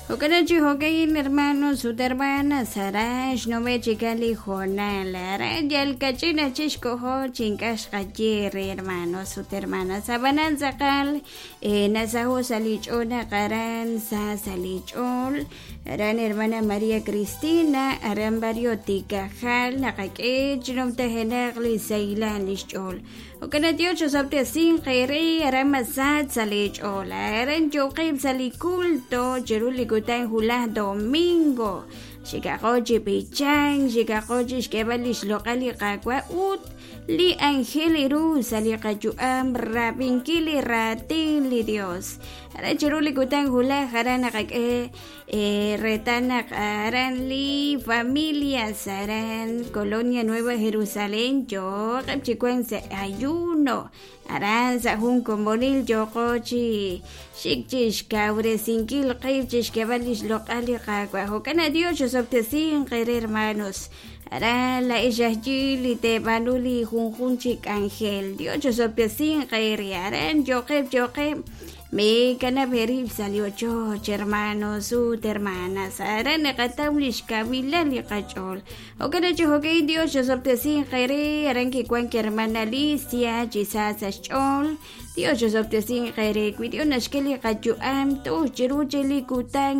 Jo'kan chi jo'ka'in hermanos ut hermanas aran xnume' chikan li hoonal aran yal kach'in aj chik xkoho chi ink'a' xqaye re hermanos ut hermanas ab'anan tz'aqal nasaho' sa' li ch'ool naq aran sa sa' li ch'ool aran hermana María Cristina aran barrio Tikajal naqak'e chi numtajenaq li sahilal li xch'ool Jo'kan naq Dios osob'tesinq eere aran masach sa' lee ch'ool. Aran yooqeb' sa' li culto chiru li kutan wulaj domingo. Xikaqo chi b'ichank, xikaqo chi xk'eeb'al li xloq'al li Qaawa' ut li anjel ru sa' li qayu'am rab'inkil li raatin li Dios. Aran chiru li kutan wulaj aran naqak'e reetal naq aran li familias aran Colonia Nueva Jerusalén yooqeb' chi wank sa' ayuno aran sa' jun komonil yooqo chi xik chi xkawresinkil qib' chi xk'eeb'al li xloq'al li Qaawa' jo'kan naq Dios osob'tesinq eere hermanos aran laa'ex aj yi li teeb'aanu li junjunq chi k'anjel Dios osob'tesinq eere aran yooqeb' yooqeb' Meekanab' eerib' sa' li ochoch, hermanos ut hermanas. Aran naqataw lix kawilal li qach'ool. Jo'kan naq chi jo'ka'in Dios xosob'tesinq eere. Aran kiwank hermana Alicia chi sa sa' xch'ool. Dios xosob'tesinq eere. Wi Dios naxk'e li qayu'am toj chiru chi li kutan.